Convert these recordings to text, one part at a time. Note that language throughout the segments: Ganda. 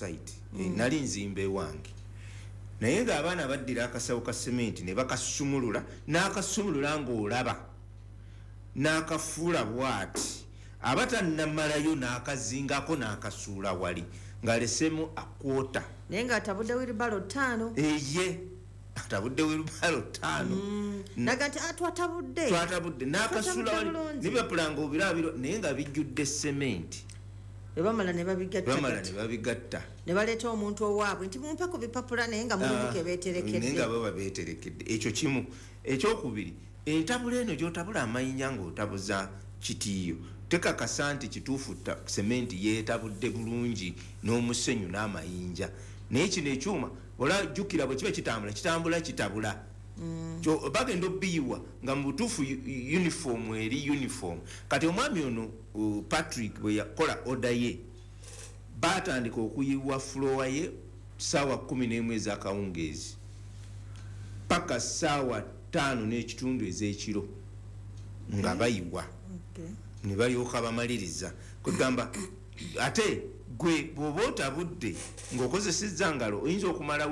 site. Nali nzimba ewange, naye ng'abaana baddira akasawo ka sementi ne bakasumulula, n'akasumulula ng'olaba n'akafuula bwati, aba tannamalayo n'akazingako n'akasuula wali ng'alesemu akwota. Naye ng'atabudde wheelbarrow 5. Eye, atabudde wheelbarrow 5. Naga nti, "Ah, twatabudde." Twatabudde n'akasuula wali. Bulungi. Nibapula nga obirabiro, naye nga bijjudde sementi. Bwe bamala ne babigatta. Bamala ne babigatta. Ne baleeta omuntu owaabwe nti, "Mumpe ku bipapula," naye nga mulimu ke Naye beeterekedde. nga baba beeterekedde. Ekyo kimu. Ekyokubiri, entabula eno gyotabula amayinja ng'otabuza kitiiyo, tekakasa nti kituufu sementi yeetabudde bulungi n'omusenyu n'amayinja. Naye kino ekyuma ola jjukira, bwe kiba kitambula, kitambula kitabula. Bagenda obiyiwa nga mu butuufu uniform eri uniform. Kati omwami ono Patrick bwe yakola order ye, batandika okuyiwa floor ye saawa 11 ezakawungeezi paka saawa 5:30 ez'ekiro nga bayiwa. Ne balyoka bamaliriza. Kwegamba ate gwe bw'oba otabudde ng'okozesezza ngalo, oyinza okumala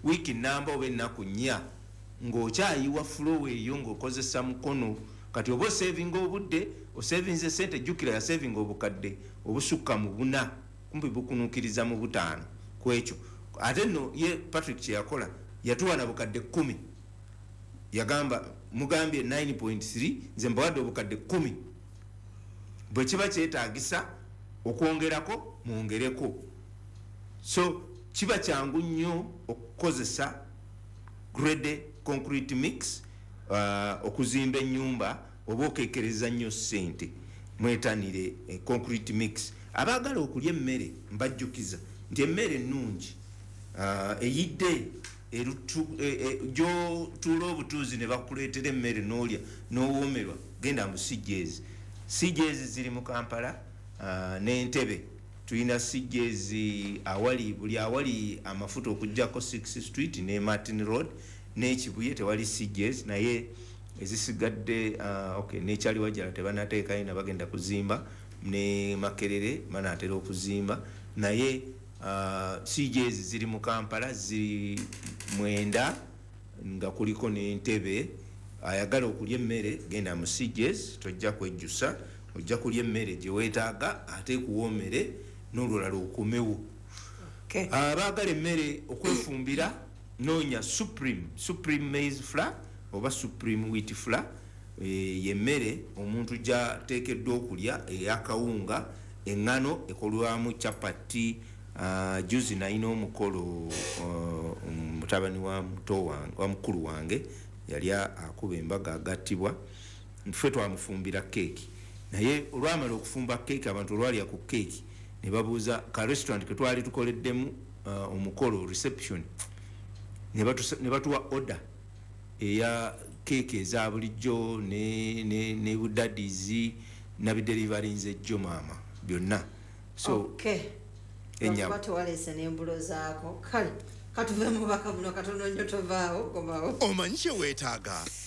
wiiki namba oba ennaku 4 ng'okyayiwa floor eyo ng'okozesa mukono. Kati oba osevinga obudde, osevinze sente. Jjukira yasevinga obukadde obusukka mu 4, kumpi bukunuukiriza mu 5 ku ekyo. Ate nno ye Patrick kyeyakola, yatuwa na bukadde 10. Yagamba, "Mugambye 9.3, nze mbawadde obukadde 10. Bwe kiba kyetagisa okwongerako, mwongereko." So kiba kyangu nnyo okukozesa grade concrete mix okuzimba ennyumba, oba okekereza nnyo ssente. Mwetanire concrete mix. Abaagala okulya emmere, mbajjukiza nti emmere ennungi eyidde gyotuula obutuuzi ne bakuleetera emmere n'olya n'owoomerwa, genda mu CJs. CJs ziri mu Kampala n'Entebe. Tulina CJs awali buli awali amafuta okugjako 6 Street ne Martin Road n'Ekibuye tewali CJs, naye ezisigadde okay, nekyali wajala tebanateekayo, nabagenda kuzimba, ne Makerere banatera okuzimba. Naye CJs ziri mu Kampala ziri 9 nga kuliko n'Entebe. Ayagala okulya emmere, genda mu CJs, tojja kwejjusa. Ojja kulya emmere gye weetaaga ate ekuwoomere n'olulala okomewo. Abaagala emmere okwefumbira, noonya Supreme, Supreme maize flour oba Supreme wheat flour. Yemmere omuntu gyateekeddwa okulya eyakawunga. Eŋŋano ekolwamu chapati. Juzi nalina omukolo, mutabani wa muto wange, wa mukulu wange yali akuba embaga agattibwa. Ffe twamufumbira keeki, naye olwamala okufumba keeki, abantu olwalya ku keeki ne babuuza ka restaurant ke twali tukoleddemu omukolo, reception, ne batuwa order eya keeki eza bulijjo ne budadizi. Nabidelivarinze ejjo maama byonna. So Ennyama. Lwakuba tewaleese n'embulo zaako. Kale katuve mu bubaka buno katono nnyo, tovaawo, komawo. Omanyi kye weetaaga.